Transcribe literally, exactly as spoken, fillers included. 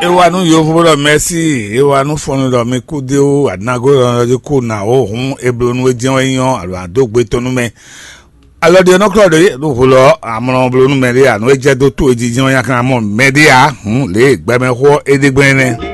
E wa nú yovo ɖɔ mɛsi, e wa nú fɔnnu ɖɔ mi kú dé wú, anago ɖɔ jí kú na wó hǔn, e bló nú é jɛ́n wɛ nyí ɔ́, alo adó gbe tɔn nú mɛ. Alɔ ɖi ɔ́ nɔ klɔ ɖe ɖo vo lɔ amlɔ bló nú mɛ ɖé a, nú é jɛ dó tó e jijɛ ɔ́, nyakan mɔ mɛ ɖé a, hǔn lě e gbɛmɛxó ɔ́ é ɖe gbɛn nɛ́.